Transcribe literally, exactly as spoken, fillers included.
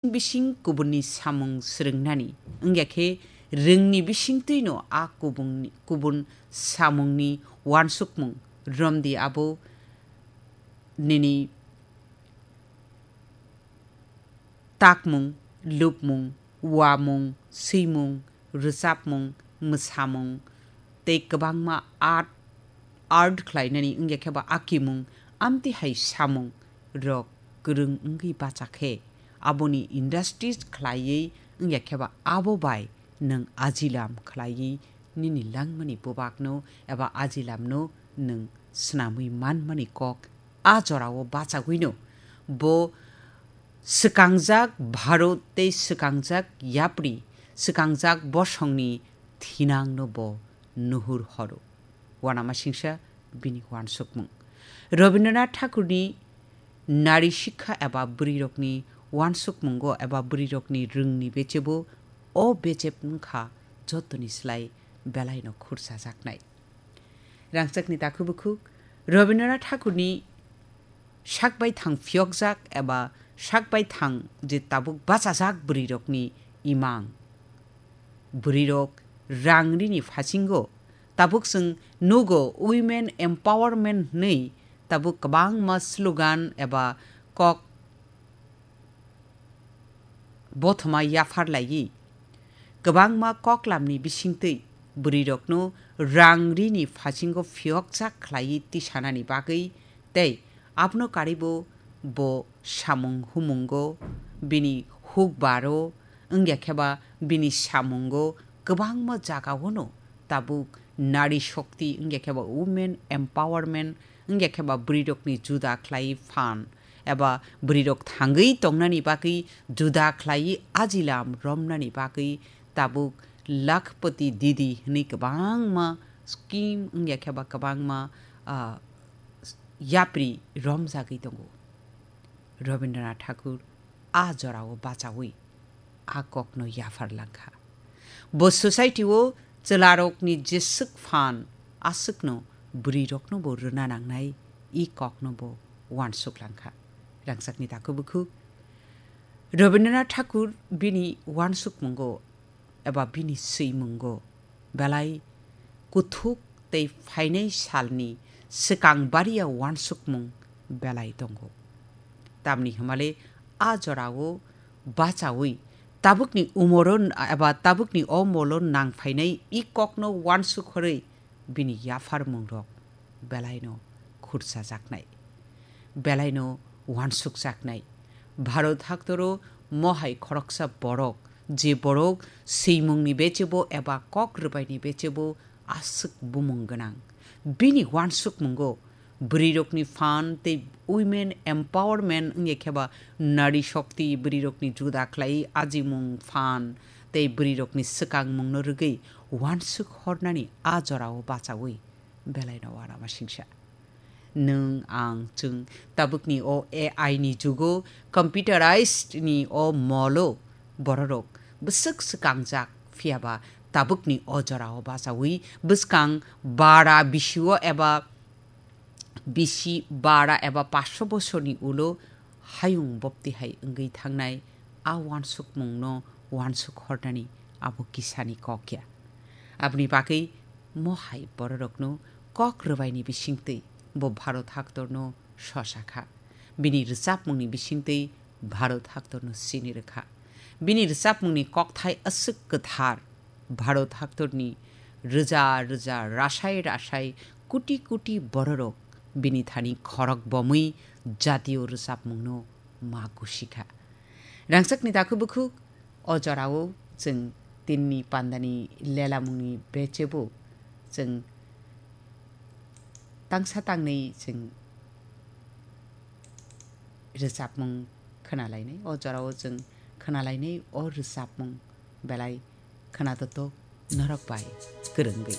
bising kubunni samung swrwngnani, wngya khe rwngni bisingtwino a kubungni, kubun samungni uansukmung romdi abo nini takmung, lupmung, uamung, swimung, rwchapmung, mwsamung, tei kwbangma art, art khlainani wngya khe ba akimung, amtwi hai samung rok kwrwng wngwi bacha khe, aboni industries khlaiwi wngya khe ba abo bai nwng ajilam khlaiwi nini langmani bubakno eba ajilamno nwng swnamwi manmani kok a jorao bachagwino bo swkangjak Bharot tei swkangjak yapri, swkangjak bosongni thinangno bo nuhur horo. Uanamasingcha bini uansukmung. Rabindranath Thakurni nari sikha eba bwrwirokni uansukmungo eba bwrwirokni rwngni bechebo o bechep wngkha jotoni slai belaino khursajaknai. Rangchakni takhuk bukhuk, Rabindranath Thakurni sak bai thang phiyokjak eba sak bai thang je tabuk bachajak bwrwirokni imang. Bwrwirok rang rini phasingo tabuk chwng nugo women empowerment hwnwi tabuk kwbangma slogan eba kok bothoma yaphar laiwi, kwbangma koklamni bisingtwi bwrwirokno rang rini phasingo phiyokjak khlaiwi tisanani bagwi tei abono karibo bo samung humungo, bini hukbaro, wngya khe ba bini samungo kwbangma jagaono tabuk nari shokti wngya khe ba women empowerment wngya khe ba bwrwirokni juda khlai phan eba bwrwirok thangwi tongnani bagwi juda khlaiwi ajilam romnani bagwi tabuk Lakhpati Didi hwnwi kwbangma scheme wngya khe ba kwbangma, ah, yapri romjagwi tongo. Rabindranath Thakur a jorao bachaui a kokno yaphar langkha. Bo society-o chwlarokni jeswk phan aswkno bwrwirokno bo rwna nangnai, i kokno bo uansuk langkha. Rangchakni takhuk bukhuk Rabindranath Thakur bini uansukmungo eba bini swimungo belai kuthuk tei phainai salni swkang baria uansukmung belai tongo. Tamni hwnmale a jorao bachaui tabukni umoro n-, eba tabukni o molo nang phainai i kokno uansuk horwi bini yapharmungrok belaino khurchajaknai, belaino uansukjaknai. Bharot haktoro mohai khoroksa borok, je borok swimungni bechebo eba kok rwbaini bechebo aswk bumung gwnang. Bini uansukmungo bwrwirokni phan tei women empowerment wngya khe ba nari shokti, bwrwirokni juda khlai ajimung phan tei bwrwirokni swkangmungno rwgwi uansuk hornani a jorao bachaui belaino uanamasingcha. Nwng, ang, chwng tabukni o A I ni jugo, computerized ni o molo bororok bwswk swkangjak, phiyaba tabukni o jorao bachaui bwskang bara bisio eba bisi bara eba paanch bosorni ulo hayung bopti hai wngwi thangnai a uansukmungno uansuk hornani abo kisani kok ya. Aboni bagwi mohai bororokno kok rwbaini bisingtwi bo Bharot haktorno sosa kha. Bini rwchapmungni bisingtwi Bharot haktorno sini rwkha. Bini rwchapmungni kokthai aswk kwthar, Bharot haktorni rwja rwja rasai rasai kuti kuti bororok bini thani khorok bomwi jatiyo rwchapmungno ma gusikha. Rangchakni takhuk bukhuk, o jorao chwng tinni pandani lelamungni bechebo chwng tangsa tangni chwng rwchapmung khwnalainai. O jorao chwng khwnalainai o rwchapmung belai khwnadotok norok bai kwrwngwi.